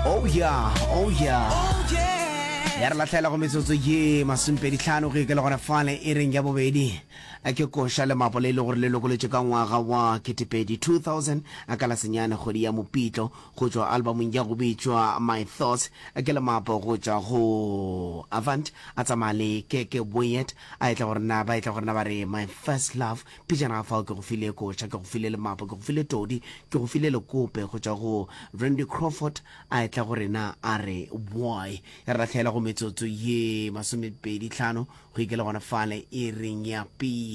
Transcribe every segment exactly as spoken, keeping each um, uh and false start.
Oh yeah, oh yeah. Ya re lahlela go metsotso ye masomepedi tlhano go ikela gona fale e reng ya bobedi ke koša le mapo le e le gore le lokolotše ka ngwaga wa ketepedi two thousand ka la senyane kgwedi ya Mopitlo go tšwa albumong ya go bitšwa My Thoughts ke le mapo go tšwa go Avant a tsamaya le Keke Boyet a etla go rena ba etla go rena ba re My First Love pejana ga fao ke go file koša ke go file le mapo ke go file todi ke go file lekope go tšwa go Randy Crawford a etla go rena a re boy ya re lahlela go metsotso ye masomepedi tlhano go ikela gona fale e reng ya pele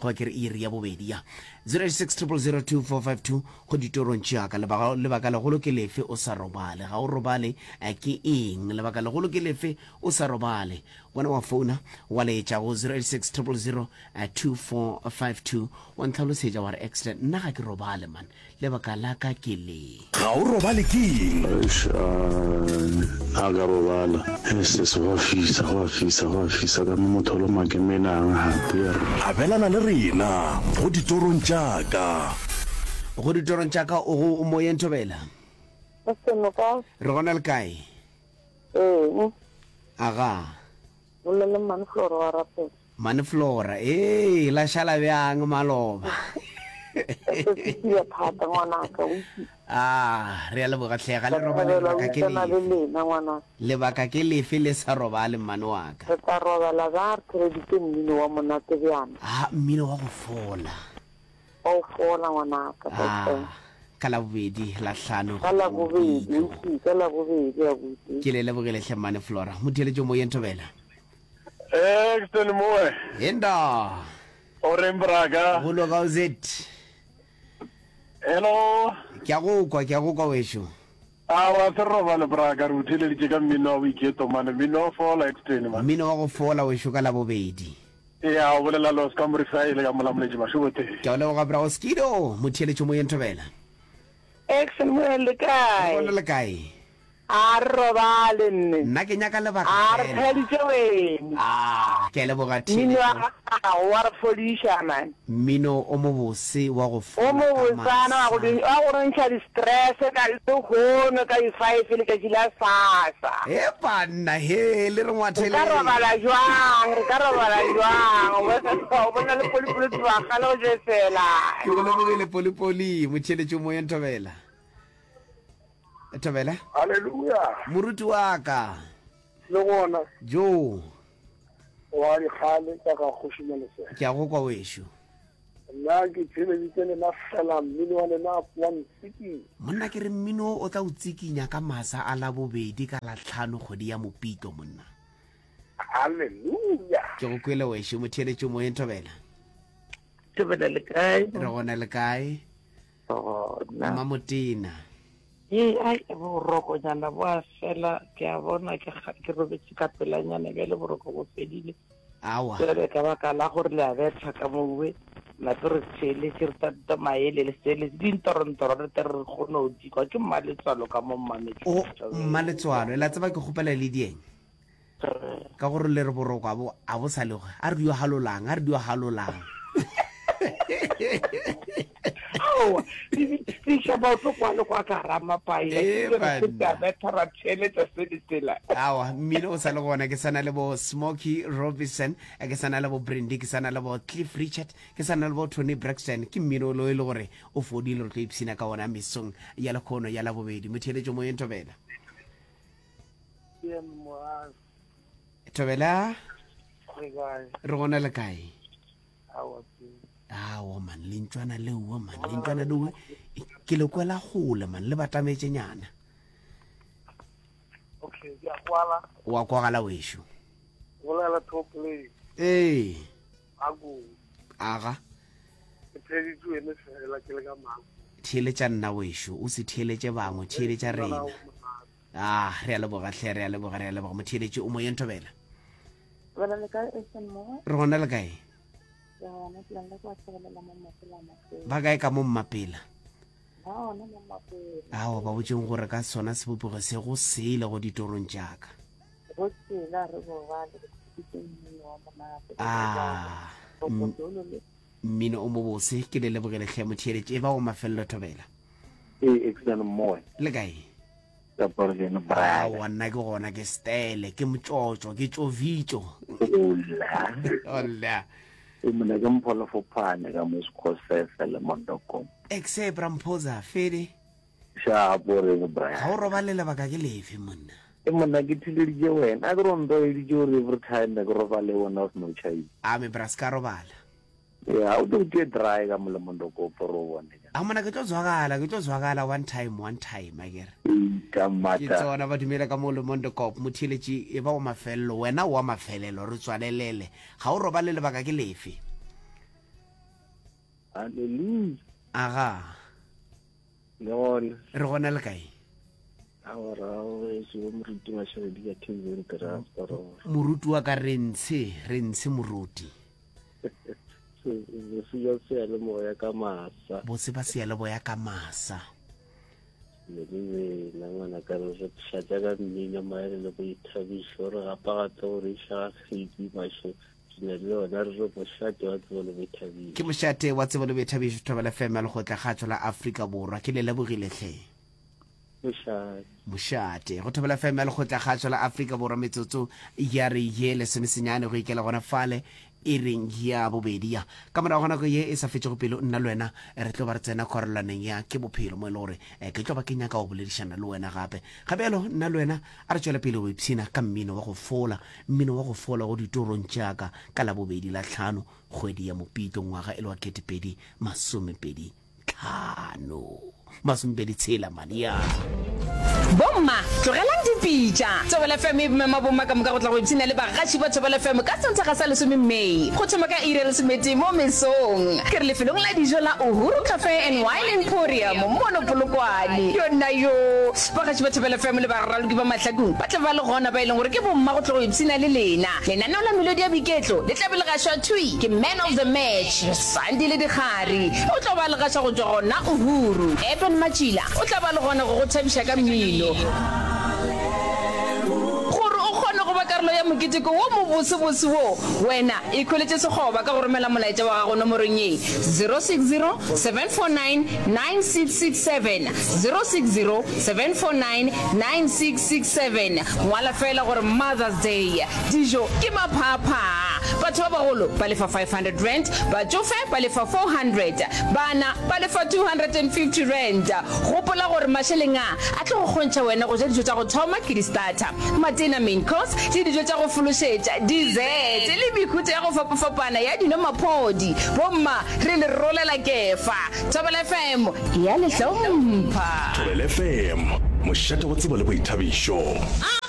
goba ke re iri ya bobedi ya zero eight six triple zero two four five two go ditorong tšeaka lebaka lebaka legolo ke lefe o sa robale ga o robale ke eng lebaka legolo ke lefe o sa robale wena wa founa wa letša go zero eight six triple zero two four five two wa ntlhalosetša wa re excellent nna ga ke robale man lebaka la ka ke le. Ga o robale ke eng? Eish a a ka robala. Ss go a fisa, go a fisa, go a fisa ka mo motho o loma ke menang gape yerr. Abelana le rena go ditorong tša ka. Go ditorong tša ka o go moyeng Thobela. Austin o kae? Re gona le kae? Ee. Aga. Bolela le Mmane Flora wa rapela. Mmane Flora, ee, la šala bjang maloba? Ke thata ngwanaka, o itse. Ah, re a leboga hle, ga le robale lebaka ke lefe? Le lena ngwanaka. Lebaka ke lefe le sa robale mmane wa ka? Re tla robala ba re theleditše mmino wa monate bjana. Ah, mmino wa go fola. Wa go fola ngwanaka. Ah, ka Labobedi la hlano. Ka Labobedi, o itse, ka Labobedi abuti. Ke le lebogile hle mmane Flora. Motheeletšo moyeng Thobela. Exton moe. Enda. O reng braka? Go loka o zet. Hello. Ke a go kwa, ke a go kwa wešo. A wa se robale braka, re o theeleditše ka mmino wa boiketlo mane, mmino wa fola Exton man. Mmino wa go fola wešo ka Labobedi. Ya, o bolela le Oscar Morisaile ka Molamoletši Mašoboteng. Ke a o leboga bra Oskido, motheeletšo moyeng Thobela. Exton moe le kae? Re gona le kae? A re robale nne. Nna ke nyaka lebaka A re fela. theeditše wene. Ah, ke a leboga Mmino wa theeletšo. gago wa re fodiša man. Mmino o mobose wa go O fola ka mobosana wa go masa. wa go re ntšha di-stress ka lehono ka di-five letšatši la sasa. He banna he, le re Re ka ngwatheleng. robala jwang, re ka robala jwang, o bona le polipoli tloga kgale go jefela. Ke go lebogile polipoli, motheeletši o moyeng Thobela. Thobela. Haleluya. Moruti wa ka. Le gona. Jo. Wa dikgale ka ga Kgoši Malesela. Ke a go kwa wešo. Nna ke theeleditše lena fela mmino wa lena wa ntsikinya. Monna ke re mmino o tla o tsikinya ka masa a Labobedi ka Lahlano kgwedi ya Mopitlo monna. Haleluya. Ke go kwele wešo motheeletši o moyeng Thobela. Thobela le kae? Re gona le kae? Gona. Mmamotena. Ee, ai, borokonyana bo a fela, ke a bona ke, ke robetše ka pelanyana bjale boroko bo fedile. Awa. Bjale ka baka la gore le a betha ka mowe, nape re theeletše re tata maele le seeletše dintorontoro re tle re kgone go di kwa. Ke mmaletswalo ka mo mmametšo. O, mmaletswalo, la tseba ke kgopela le dieng? Ka gore le re boroko a bo, a bo sa le, a re dio halolang, a re dio halolang. Aowa, re iša maoto kwa le kwa ka gara mapai. Ee, Re feta banna. betha ra theeletša se le sela. Aowa, mmino o sa le gona. Ke sa na le bo Smokey Robinson, ke sa na le bo Brandy, ke sa na le bo Cliff Richard, ke sa na le bo Toni Braxton. Ke mmino o lo e le gore o fodile, re tlo ipshina ka wona mesong ya lekhono ya Labobedi. Motheeletšo moyeng Thobela. Thobela. Re kae? Re gona le kae? Aowa, ke. Aowa man, lentšwana leowa man, lentšwana leowa ke le kwela gole man, le batametše nyana. Okay, ke a kwala. Wa kwagala wešo. Bolela top play. Ee. Ako. Aga. Ke theeditše wene fela ke le ka mako. Theeletša nna wešo, o se theeletše bangwe, theeletša rena. Ah, re a leboga hle, re a leboga, re a leboga. Motheeletši o moyeng Thobela. Thobela le kae Eastern Moe? Re gona le kae? Ke gona ke lena kwa Thobela mo Mmapela Mapela. Ba kae ka mo Mmapela? Ba gona mo Mmapela. Ao ba botšeng gore ka sona sebopego se go sele go ditorong tša ka. Go sela re robale re khupitše mmino wa monate. Ah, mmino o mobose ke le lebogele hle motheeletši e ba o mafelelo Thobela. Ee, Eastern Moe. Le kae? Kaporgene brother. Aowa nna ke gona ke stele, ke motšotšo, ke tšovitšo. Ola. Ola. E mona ke mpholo fophane ka mo Sekgosese le Mondokong. Exe bra Mphoza, fede. Shapo reng bra. Ga o robale lebaka ke lefe monna? E monna ke thileditše wena. A ke re o ntlwaeditše gore every time ke robale wena o se no tšhaisa. A me bra se ka robala. Ya o tlo tšee dry ka mo le Mondokopo re o bone. A monna ke tlo zwakala, ke tlo zwakala one time, one time akere. Ka Ke mata. tsona ba dumela ka mo le Mondokop motheeletši e ba wa mafelelo, wena o wa mafelelo re tswalelele. Ga o robale lebaka ke lefe? Hallelujah. Aga. Le gona. Re gona le kae? Awa ra wešo bo moruti Mašaledi ka Kevin Grasparov. Moruti wa ka re ntshe, re ntshe moruti. Bose bja seyalemoya ka masa. Bose ba seyalemoya ka masa. Le le wena ngwana ka re re pšhatša ka mmino maele le boithabišo re gapa gape gore iša ga kgedi mašo re na le yona re re mošate wa tsebo le boithabišo. Ke mošate wa tsebo le boithabišo Thobela F M ya Lekgotla Kgatšo la Afrika Borwa. Ke le lebogile hle. Mošate. Mošate. Go Thobela F M ya Lekgotla Kgatšo la Afrika Borwa metsotso ya re ye lesomesenyane go ikela gona fale e reng ya bobedi ya. Ka morago ga nako ye e sa fetšego pelo nna le wena re tlo ba re tsena kgwarelaneng ya ke bophelo mo e le gore ke tlo ba ke nyaka go boledišana le wena gape. Ga bjalo nna le wena a re tšwele pele go ipshina ka mmino wa go fola, mmino wa go fola go ditorong tša ka ka labobedi la tlhano kgwedi ya Mopitlo ngwaga e le wa ketepedi masomepedi tlhano masomepedi tshela mane ya. Bomma, tlogelang dipitša. Thobela F M e mema bomma ka moka go tla go ipshina le bagaši ba Thobela F M ka Sontaga sa lesome May go thoma ka iri ya lesometee mo mesong. Ke re lefelong la dijo la Uhuru Cafe and Wine Emporium mono Polokwane. Yona yo! Bagaši ba Thobela F M le baraloki ba mahlakong ba tla ba le gona ba e leng gore ke bomma go tla go ipshina le lena. Lenaneo la melodi ya boiketlo le tla be le gašwa thwi ke Man of the Match Sandile Dikgari. O tlo ba le gaša go tšwa gona Uhuru. Eben Matšila o tla ba le gona go go thabiša ka mmino. Gore o kgone go ba karolo ya moketeko wo mobosebose wo, wena ikhweletše sekgoba ka go romela molaetša wa gago nomorong ye, zero six zero, seven four nine, nine six six seven, zero six zero, seven four nine, nine six six seven. Ngwala feela gore Mother's Day. Dijo ke maphaaphaa. Batho ba bagolo ba lefa five hundred rand, batšofe ba lefa four hundred, bana ba lefa two hundred and fifty rand. Gopola gore mašeleng a a tlo go kgontšha wena go ja dijo tša go thoma ke di-starter, matena, main course, le dijo tša go fološetša, dessert, le mehuta ya go fapafapana ya dino maphodi. Bomma, re le rolela kefa. Thobela F M e a le hlompha. Thobela F M, mošate wa tsebo le boithabišo.